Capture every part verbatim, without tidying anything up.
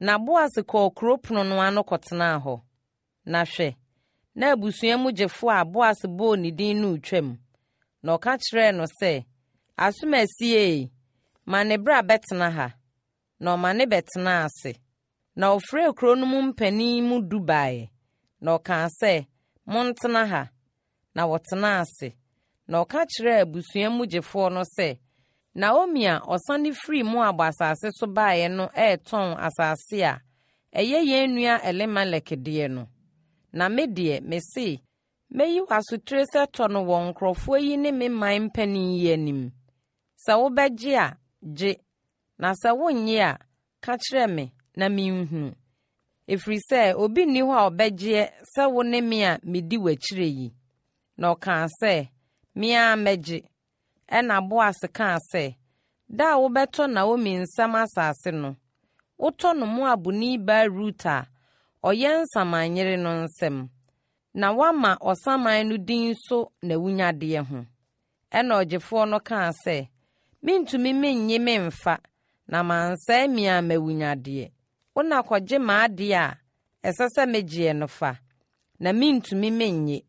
Na Boas kɔɔ kuro pono no ano kɔtenaa hɔ. Na hwɛ, na abusua mu gyefoɔ a Boas bɔɔ ne din no retwam. Na ɔka kyerɛɛ no sɛ, Asomasi ee, ma ne bra bɛtena ha. Na ɔma ne bɛtenaa ase. Na ɔfrɛɛ kuro no mu mpanin mu du baeɛ, na ɔkaa sɛ, Montena ha. Na wɔtenaa ase. Na ɔka kyerɛɛ abusua mu gyefoɔ no sɛ, Naomi a ɔsane firii Moab asase so baeɛ no retɔn asase a ɛyɛ yɛn nua Elimelek deɛ no. Na me deɛ, mese, mɛyi wo asotire sɛ tɔ no wɔ nkurɔfoɔ yi ne me man mpanin yi anim. Sɛ wobɛgye a, gye, na sɛ worennye a, ka kyerɛ me na menhunu. Ɛfiri sɛ obi nni hɔ a ɔbɛgyeɛ sɛ wo ne me a medi w'akyire yi. Na ɔkaa sɛ, Me ara mɛgye. Ɛnna Boas kaa sɛ, Da a wobɛtɔ Naomi nsam asase no, wotɔ no Moabni baa Rut a ɔyɛ nsamanyere no nsam, na woama ɔsaman no din so n'awunnyadeɛ ho. Ɛnna ɔgyefoɔ no kaa sɛ, Mentumi mennye memfa, na mansɛe me ara m'awunnyadeɛ. Wo na kɔgye m'adeɛ a ɛsɛ sɛ megyeɛ no fa, na mentumi mennye.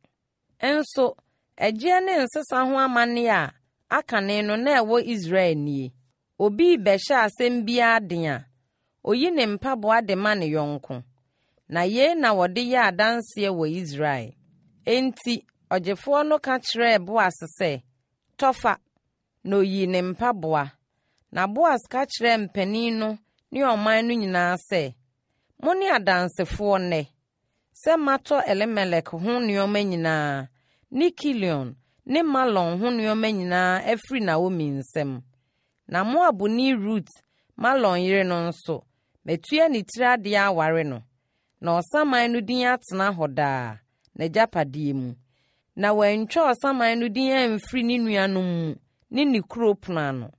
Nso ɛgyeɛ ne nsesa ho amanneɛ a akane no na ɛwɔ Israel nie: Obi rebɛhyɛ asɛm biara den a, ɔyi ne mpaboa de ma ne yɔnko. Na yei na wɔde yɛ adanseɛ wɔ Israel. Enti ɔgyefoɔ no ka kyerɛɛ Boas sɛ, Tɔ fa! Na ɔyii ne mpaboa. Na Boas ka kyerɛɛ mpanin no ne ɔman no nyinaa sɛ, Mone adansefoɔ nnɛ, sɛ matɔ Elimelek ho nnoɔma nyinaa ne Kilion ne Mahlon ho nnoɔma nyinaa afiri Naomi nsam. Na Moabni Rut, Mahlon yere no nso, matua ne tiri adeɛ aware no, na ɔsaman no din atena hɔ daa, n'agyapadeɛ mu. Na wantwa ɔsaman no din amfiri ne nuanom mu ne ne kuro pono ano.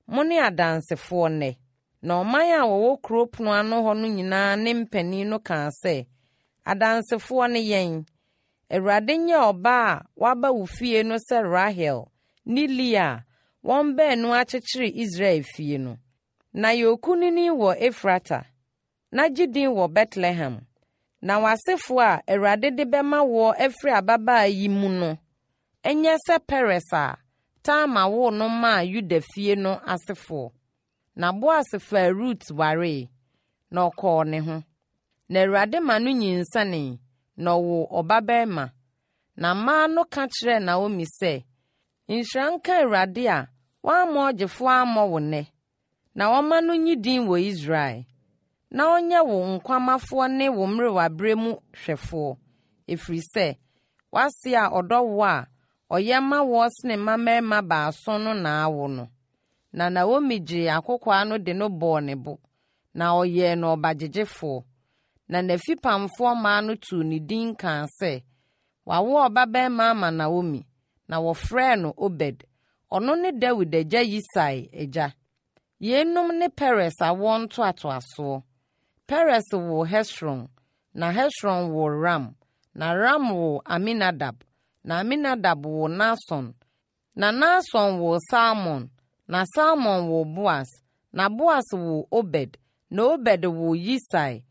Mone adansefoɔ nnɛ. Na ɔman a wɔwɔ kuro pono ano hɔ no nyinaa ne mpanin no kaa sɛ, Adansefoɔ ne yɛn. Awurade nyɛ ɔbaa a waba wo fie no sɛ Rahel ne Lea a wɔn baanu akyekyere Israel fie no. Na yɛ okunini wɔ Efrata, na gye din wɔ Betlehem. Na w'asefoɔ a Awurade de bɛma woɔ afiri ababaa yi mu no nyɛ sɛ Peres a Tamar woo no maa Yuda fie no asefoɔ. Na Boas faa Rut waree, na ɔkɔɔ ne ho. Na Awurade ma no nyinsɛnee, na ɔwoo ɔbabarima. Na mmaa no ka kyerɛɛ Naomi sɛ, Nhyira nka Awurade a wamma ɔgyefoɔ ammɔ wo nnɛ, na ɔmma no nnye din wɔ Israel, na ɔnyɛ wo nkwamafoɔ ne wo mmerewaberɛ mu hwɛfoɔ, ɛfiri sɛ w'ase a ɔdɔ woɔ a ɔyɛ ma woɔ sene mmammarima baason no na awo no. Na Naomi gyee akɔkoaa no de no bɔɔ ne bo, na ɔyɛɛ no ɔbagyegyefoɔ. Na n'afipamfoɔ mmaa no too ne din kaa sɛ, Wɔawo ɔbabarima ama Naomi, na wɔfrɛɛ no Obed. Ɔno ne Dawid agya Yisai agya. Yeinom ne Peres awoɔ ntoatoasoɔ. Peres woo Hesron, na Hesron woo Ram, na Ram woo Aminadab, na Aminadab woo Nahson, na Nahson woo Salmon, na Salmon woo Boas, na Boas woo Obed, na Obed woo Yisai,